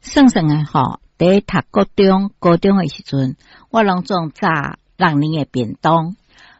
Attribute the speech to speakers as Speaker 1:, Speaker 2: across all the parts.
Speaker 1: 算算的吼，佇讀國中、高中的時陣，我攏總炸六年的便當。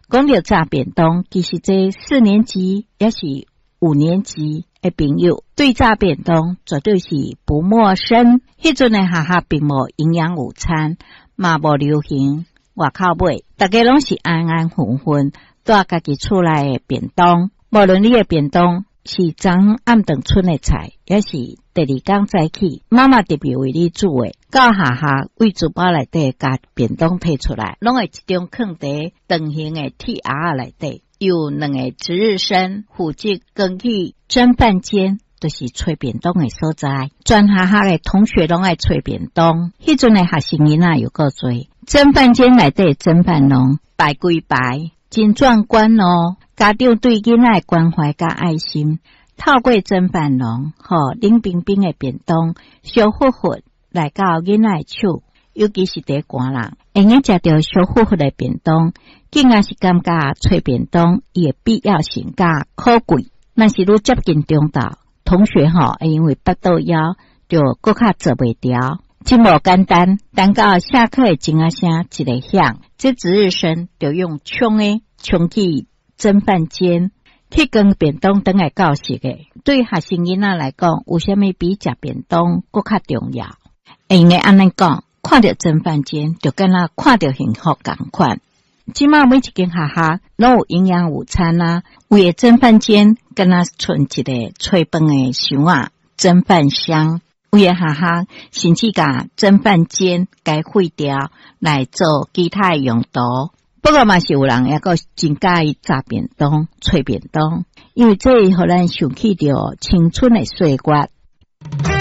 Speaker 1: 講著炸便當，其實這四年級抑是五年級的朋友，對炸便當絕對是不陌生。彼陣的學校並無營養午餐，嘛無流行外口買，逐家攏是安安分分帶家己厝內的便當。無論你的便當是昨暗頓賰的菜，抑是第二工早起媽媽特別為你煮的，到學校對書包內底共便當提出來，攏會集中囥佇長形的鐵盒仔內底。有兩个值日生負責扛去蒸飯間，就是揣便當的所在。全學校的同學攏愛揣便當。彼陣的學生囡仔又閣濟，蒸飯間內底蒸飯籠排規排，真壯觀哦。家長對囡仔的關懷佮愛心，透過蒸飯籠，予冷冰冰的便當，燒呼呼來到囡仔的手，尤其是佇寒人，會用食著燒呼呼的便當，更加是感覺揣便當伊的必要性佮可貴。若是愈接近中晝，同學吼，因為腹肚枵，就閣較坐袂牢，真無簡單。等到下課的鐘仔聲一个響，這值日生就用衝的衝去蒸飯間去扛便當轉來教室的。對學生囡仔來講，有啥物比食便當閣較重要？會用按呢講，看著蒸飯間就敢若看著幸福仝款。這馬每一間學校攏有營養午餐啊，為的蒸飯間敢若賰一个炊飯的箱仔，蒸飯箱。有的學校甚至共蒸飯間共廢掉來做其他的用途。不過嘛是有人猶閣真佮意炸便當、揣便當，因為這會予咱想起著青春的歲月。